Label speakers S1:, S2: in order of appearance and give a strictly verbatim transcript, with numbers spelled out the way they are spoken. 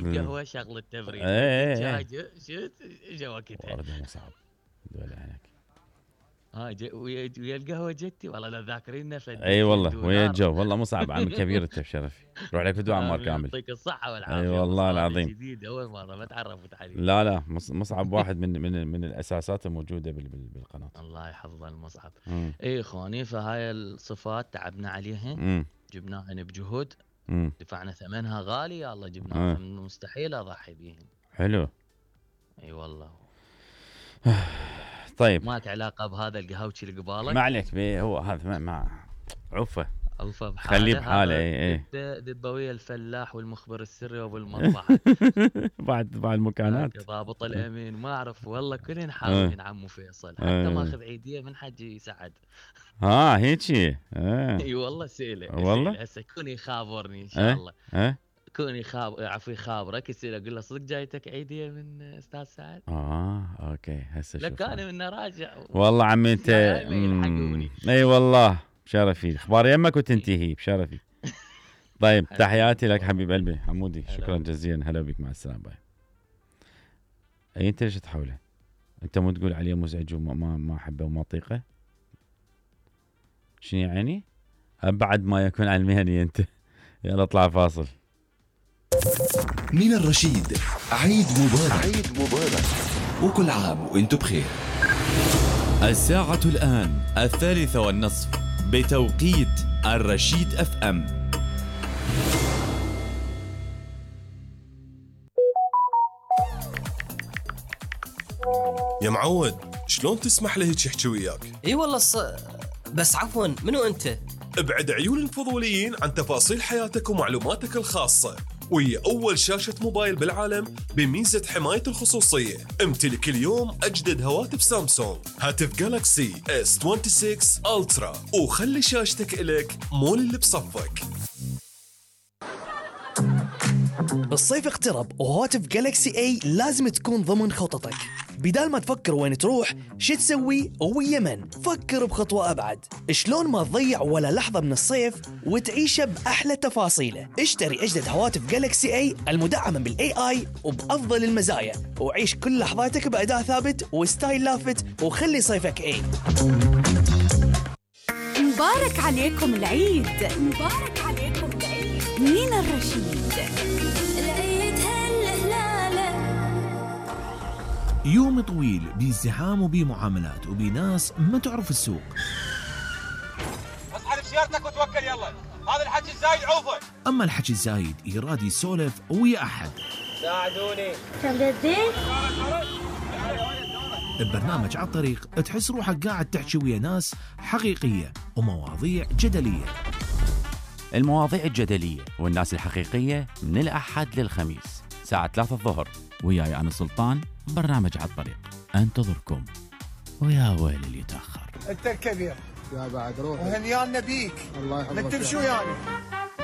S1: القهوه شغل التبريد.
S2: ايه
S1: الدجاج شفت اجى وقتها.
S2: ورده مصعب دول هناك.
S1: ها ويا ويا القهوه جتي والله لا ذاكرين فد.
S2: اي والله ويا الجو والله مصعب عم كبير انت بشرفي. روح لك فدوه عمار كامل.
S1: يعطيك الصحه والعافيه.
S2: اي والله العظيم.
S1: جديد اول مره ما تعرفت عليه.
S2: لا لا مصعب واحد من من من الاساسات الموجوده بالقناه.
S1: الله يحفظه المصعب. اي اخواني فهاي الصفات تعبنا عليها. مم. جبناها بجهد. مم. دفعنا ثمنها غالي يلا جبناها مستحيل اضحي بيهم.
S2: حلو.
S1: اي والله.
S2: طيب
S1: ماك علاقه بهذا القهوتشي اللي قبالك؟
S2: ما عليك هو هذا ما, ما عفه
S1: عفه بحاله.
S2: خليه بحاله. اي اي
S1: دبويه الفلاح والمخبر السري وابو المطبخ.
S2: بعد بعد المكانات
S1: ضابط الامين ما اعرف والله كلنا حاولين عمو فيصل حتى ماخذ عيديه من حجي سعد.
S2: ها هيجي.
S1: اي والله سيله
S2: والله
S1: هسه كوني يخابرني ان شاء الله.
S2: اه
S1: كوني خاب عفوا خابرك يصير اقول له صدق جايتك عيديه من استاذ سعد.
S2: اه اوكي هسه
S1: لك انا من راجع
S2: والله عمي انت. اي والله بشرفي اخبار يمك وتنتهي بشرفي. طيب تحياتي لك حبيب قلبي حمودي. شكرا جزيلا هلا بك مع السلامه. باي. اي انت ليش تحوله؟ انت مو تقول عليه مزعج وما ما ما احبه وما اطيقه؟ شنو يعني؟ ابعد ما يكون عن المهني انت. يلا اطلع فاصل.
S3: من الرشيد عيد مبارك. عيد مبارك وكل عام وانتم بخير.
S4: الساعة الآن الثالثة والنصف بتوقيت الرشيد اف ام.
S5: يا معود شلون تسمح له هيك يحكي وياك؟
S6: اي والله الص... بس عفوا منو انت؟
S5: ابعد عيون الفضوليين عن تفاصيل حياتك ومعلوماتك الخاصة، وهي أول شاشة موبايل بالعالم بميزة حماية الخصوصية. امتلك اليوم أجدد هواتف سامسونج، هاتف جالاكسي اس ستة وعشرين ألترا، وخلي شاشتك إلك مو اللي بصفك.
S7: الصيف اقترب وهواتف جالاكسي اي لازم تكون ضمن خططك. بدال ما تفكر وين تروح شو تسوي ويا من، فكر بخطوة أبعد. شلون ما تضيع ولا لحظة من الصيف وتعيشه بأحلى تفاصيله. اشتري أجدد هواتف جالاكسي اي المدعمة بالاي اي وبأفضل المزايا، وعيش كل لحظاتك بأداء ثابت وستايل لافت، وخلي صيفك اي.
S8: مبارك عليكم العيد. مبارك عليكم العيد. من الرشيد.
S9: يوم طويل بازدحام وبمعاملات وبناس ما تعرف السوق.
S10: اسحب سيارتك وتوكل يلا، هذا الحكي الزايد عوفه.
S9: اما الحكي الزايد يراد يسولف ويا احد.
S10: ساعدوني.
S11: تمدين؟
S9: ببرنامج على الطريق تحس روحك قاعد تحكي ويا ناس حقيقية ومواضيع جدلية.
S2: المواضيع الجدلية والناس الحقيقية من الأحد للخميس ساعة ثلاثة الظهر، وياي أنا سلطان. برنامج على الطريق انتظركم، ويا ويل اللي يتأخر.
S10: انت الكبير
S12: يا بعد روح
S10: وهنيانا بيك.
S12: الله يحفظك.
S10: نتمشوا يعني